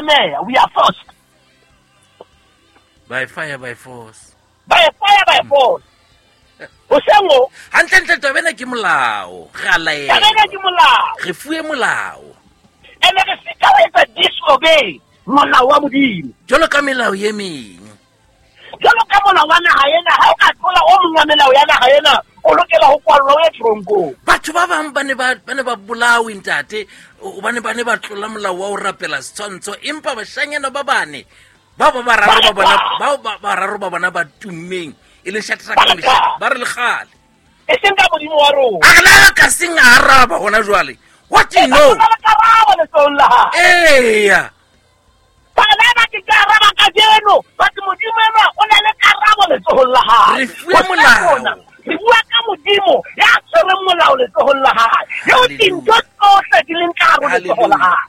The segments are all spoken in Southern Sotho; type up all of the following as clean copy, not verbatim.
tlameha, we are forced. By fire by force. By fire by force. Hoseng ho. Hantlentle taba ena ke molao. Re a laelwa. Taba ena ke molao. Re fuwe molao. Ene re sita ho etsa disobey molao wa Modimo. Jwalo ka melao ye meng. Jwalo ka molao wa naha ena, ha o ka tlola o mong wa melao ya naha ena, o lokela ho kwallwa o ye tronkong. Batho ba bang ba ne ba ba ne ba bolawe ntate, hobane ba ne ba tlola molao wa ho rapela setshwantsho, empa bashanyana ba bane bao ba bararo ba bona, bao ba bararo ba bona ba tummeng e le Shadrach le Meshach, ba re le kgale. E seng ka Modimo wa rona. A re la ka seng a araba hona jwale. What do you know? Ba karabo letsohong la hae. Eya. Bana ba ke ka araba kajeno, but Modimo enwa o na le karabo letsohong la hae. Re fuwe molao. Re bua ka Modimo ya tshwereng molao letsohong la hae. Eo dintho tsohle di leng ka hare ho letsoho la hae.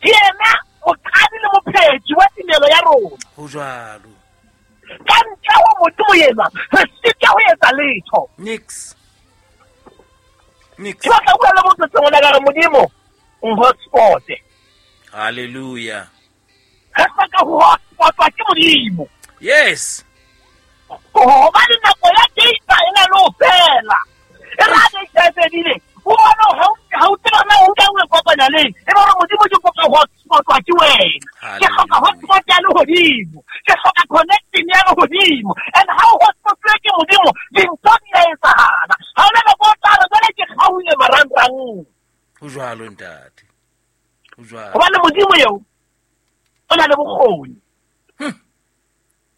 Ke yena moqadi le mophethi wa tumelo ya rona. Ho jwalo. Ka ntle ho Modimo enwa, re sitwa ho etsa letho. Nix. Nix. Ke batla ho bua le motho sengwe ka re Modimo, nhotspot. Hallelujah. Re hloka ho hotspotwa ke Modimo. Yes. Hobane nako ya data e na le ho fela. E re ha data e fedile, o bone ha o tseba na o nka o e kopanya leng. E be hore Modimo ke kopa ho hotspotwa ke wena. Ke hloka hotspot ya lehodimo. Ke hloka connection ya lehodimo. And ha o hotspotwe ke Modimo, dintho di a etsahala. Ha hona nako o tla re jwale ke kgaohile marangrang. Ho jwalo ntate. Ho jwalo. Hobane Modimo eo o na le bokgoni.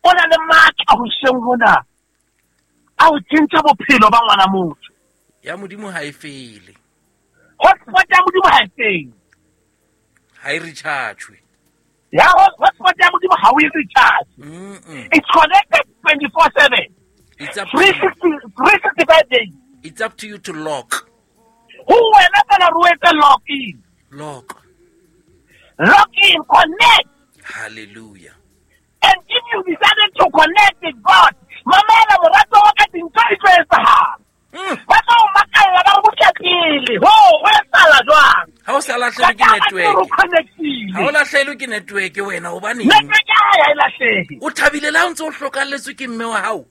O na le matla hoseng hona a ho tjhentjha bophelo ba ngwana motho. Ya Modimo ha e fele. Hotspot ya Modimo ha e fele. Ha e recharge. Ya hotspot ya Modimo ha o e recharge. It's connected 24/7. It's up to you. 365 days. It's up to you to lock. Ho wena fela re o etse lock in. Lock. Lock in, connect. Hallelujah. And if you decided to connect with God, mamela morato wa ka dintho di tlo etsahala. Ba tla o makalla ba re botla pele. Ho, ho etsahala jwang? Ha o sa lahlehelwe ke Ka taba network. tseo re connect-ile. Ha o lahlehelwe ke network wena, hobaneng? Network ya hae ha e lahlehe. O thabile le ha o ntse o hlokalletswe ke mme wa hao.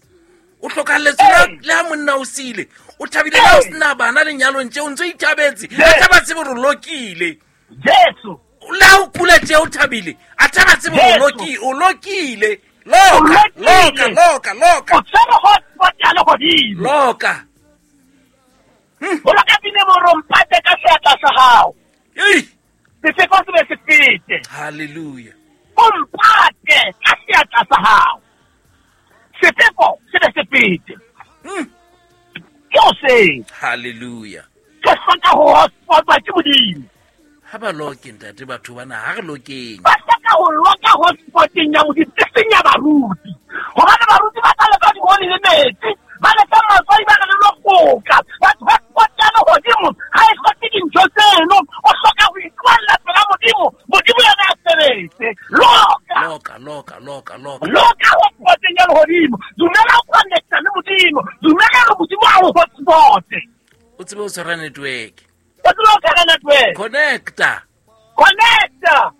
O hlokalletswe le ha monna o siile. O thabile le ha o sena bana lenyalong tje, o ntse o ithabetse. A tla ba tsebe hore o lokile. Jesu. Le ha o kula tje o thabile, a tla ba tsebe hore o lokile. Loka, loka, loka, loka. O tshwere hotspot ya lehodimo. Loka. O loka pine mo rompate ka seatla sa hao. Ei. Sefeko se be se fete. Hallelujah. O mpate ka seatla sa hao. Sefeko se be se fete. Ke o seng. Hallelujah. Ke hloka ho hotspotwa ke Modimo. Ha ba loke ntate batho bana, ha re lokeng. Ba hloka ho loka hotspoteng ya Modimo, e seng ya baruti. Hobane baruti ba tla leka dihole le metsi, ba leka matswai ba re le lokoka. But hotspot ya lehodimo ha e hloke dintho tseno. O hloka ho ikwalla pela Modimo, Modimo yena a sebetse. Loka. Loka, loka, loka, loka. Loka hotspoteng ya lehodimo. Dumela ho connecta le Modimo. Dumela hore Modimo a o hotspote. O tsebe ho tshwara network. O tsebe ho tshwara network. Connecta. Connecta.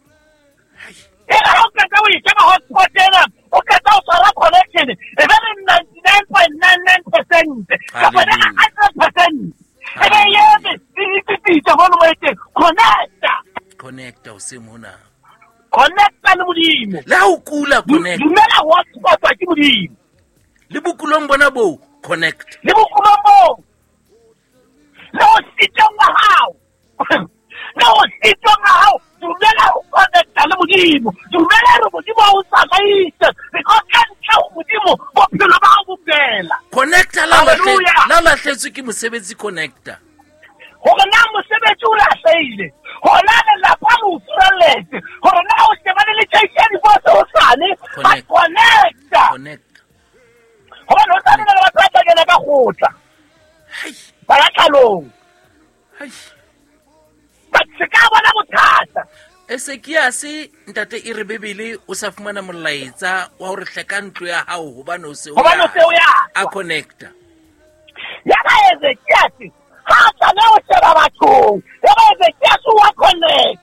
E re ha o qeta ho e sheba hotspot ena, o qeta ho tshwara connection, e be le 99.99% kapa le 100%. E be e eme, e itsitsitse mono mo e teng. Connecta. Connecta hoseng hona. Connecta le Modimo. Le ha o kula, connect. Dumela hotspotwa ke Modimo. Le bokulong bona boo, connect. Le bokulong boo. Le ho sitong wa hao. Le ho sitong wa hao. Dumela ho connecta le Modimo. Dumela hore Modimo a o tsamaise. Because ka ntle ho Modimo, bophelo ba hao bo fela. Connecta la Hallelujah. la lahletswe ke mosebetsi, connecta. Hore na mosebetsi o lahlehile, hore na lelapa le o furalletse, hore na o shebane le tjhaisa ya divorce hosane, ba Connect. connecta. Connect. Hobane ho tla le batho ba tla kena ka kgotla. Hai. Ba ya tlalong. Hai. But se ka bona bothata. Esekiase ntate e re Bibele o sa fumana molaetsa wa hore hleka ntlo ya hao hobane o se o Hobane o ya se o ya. A connecta. Ya ba Ezekiase ha a tlameha ho sheba bathong. Ya ba Ezekiase wa connecta.